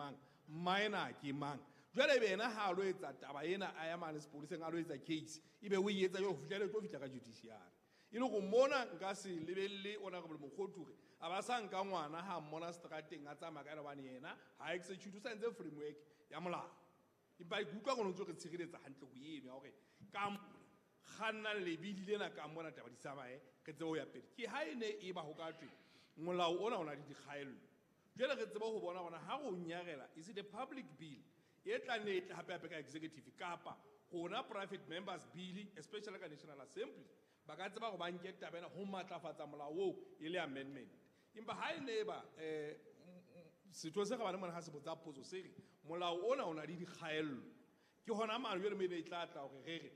mang, minor ke mang. Jwale ebe yena ha a lo etsa taba ena, a ya mane sepoleseng, a lo etsa case, ebe o e etsa jwale ho fihlela e tlo fihla ka judiciary. E le hore mona nka se lebelle Honorable Mokgothu hore a ba sa nka ngwana ha mmona seterateng a tsamaya ka ena, hobane yena ha execute, o sa entse framework ya molao. Empa ke utlwa gore o ntse re tshireletsa hantle ho eno ya hore ka kgannang lebili lena ka mona taba di tsamaye, re tsebe ho ya pele. Ke ha e ne e ba ho ka thwe molao ona o na le dikgaello, jwale re tsebe ho bona hore ha re o nyarela, is it a public bill e tla nne e tle hape hape ka executive, kapa rona private members bill, especially ka National Assembly, ba ka tseba hore ba nke taba ena ho matlafatsa molao oo e le amendment. Empa ha e ne e ba setho se kgabane mona ha se botsa potso se re molao ona o na le dikgaello, ke hona mane jwale maybe e tla tla hore re re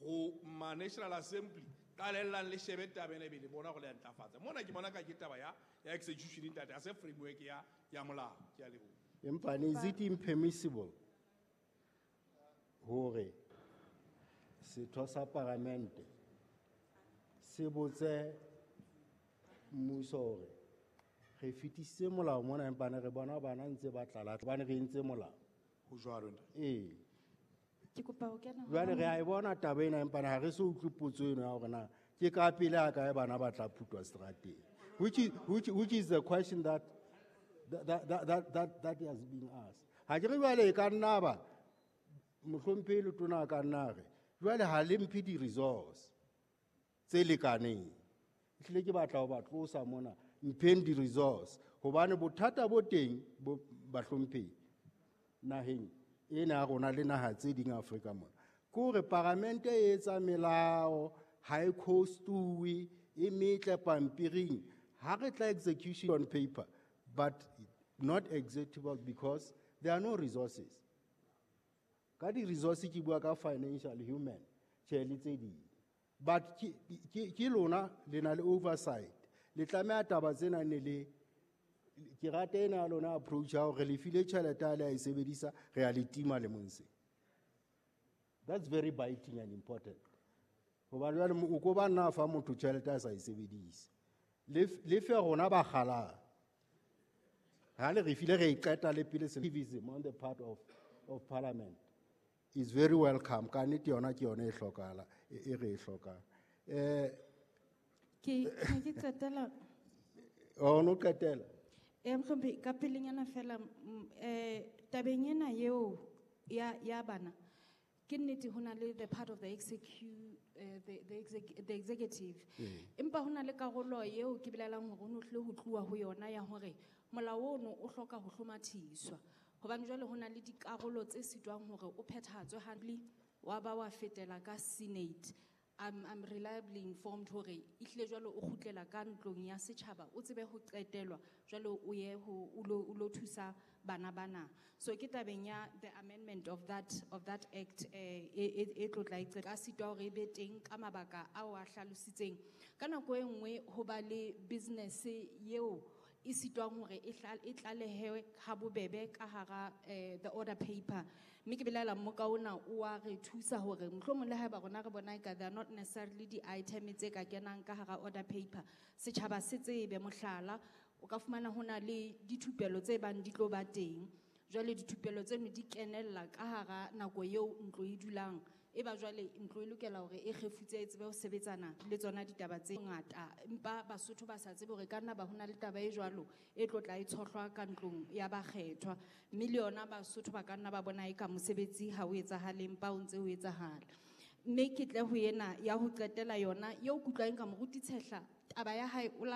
ho ma National Assembly qalellang le shebe taba ena, ebe le bona hore le a ntlafatsa. Mona ke bona ka ke taba ya execution, ntate, ha se framework ya molao. Ke a leboha. Empa ne is it impermissible hore setho sa paramente se botse mmuso hore re fetisitse molao mona, empa ne re bona bana ntse ba tlala hobane re entse molao? Ho jwalo, ntate. Ee. Ke kopa ho kena Jwale hona re a e bona taba ena, empa ha re so utlwe potso eno ya hore na ke ka pele ha kae bana ba tla phutwa seterateng, which is the question that has been asked. Ha ke re jwale e ka nna ba mohlomphehi letona a ka nna re jwale ha le mphe di-resource tse lekaneng, ehlile ke batla ho ba tlosa mona, mpheng di-resource, hobane bothata bo teng bo bahlomphehi naheng ena ya rona le naha tse ding Afrika mona, ke hore paramente e etsa melao, ha e costuwe, e metle pampiring, ha re tla execution on paper but not executable because there are no resources. Ka di-resource ke bua ka financial, human, tjhe le tse ding, but ke lona le na le oversight, le tlameha taba tsena ne le ke rata ena ya lona approach ya hore le file tjhelete a le a e sebedisa, re a le tima lemong se. That's very biting and important, hobane jwale o ko ba nna fa motho tjhelete a sa e sebedise, le fe rona ba kgalang ha le re file, re e qeta le pele. Activism on the part of parliament is very welcome. Ka nnete yona ke yona e hlokahala, e re e hlokang. Ke ne ke qetela. O no qetela. Mohlomphehi, ka pelenyana fela, tabeng ena eo ya bana, ke nnete ho na le the part of the executive, empa ho na le karolo eo ke belaelang hore ho no hlile ho tluwa ho yona ya hore molao ono o hloka ho hlomathiswa, hobane jwale ho na le dikarolo tse sitwang hore o phethahatswe hantle, wa ba wa fetela ka Senate. I'm reliably informed hore ehlile jwale o kgutlela ka ntlong ya setjhaba, o tsebe ho qetelwa, jwale o ye ho o lo thusa bana bana. So ke tabeng ya the amendment of that act, e tlo tla e ka sitwa hore e be teng ka mabaka ao a hlalositseng. Ka nako e nngwe ho ba le business eo e sitwang hore e tlalehewe ha bobebe ka hara the order paper, mme ke belaela mmoka ona o wa re thusa hore mohlomong le haeba rona re bona eka they are not necessarily di-item tse ka kenang ka hara order paper, setjhaba se tsebe. Mohlala, o ka fumana ho na le dithupelo tse bang di tlo ba teng, jwale dithupelo tseno di kenella ka hara nako eo ntlo e dulang, e ba jwale ntlo e lokela hore e kgefutse, e tsebe ho sebetsana le tsona ditaba tse ngata, empa Basotho ba sa tsebe hore ka nna ba hona le taba e jwalo e tlo tla e tshohlwa ka ntlong ya bakgethwa, mme le yona Basotho ba ka nna ba bona eka mosebetsi ha o etsahale, empa o ntse o etsahala. Mme ke tle ho ena ya ho qetela yona eo ke utlwang ka moruti Tshehla, taba ya hae o la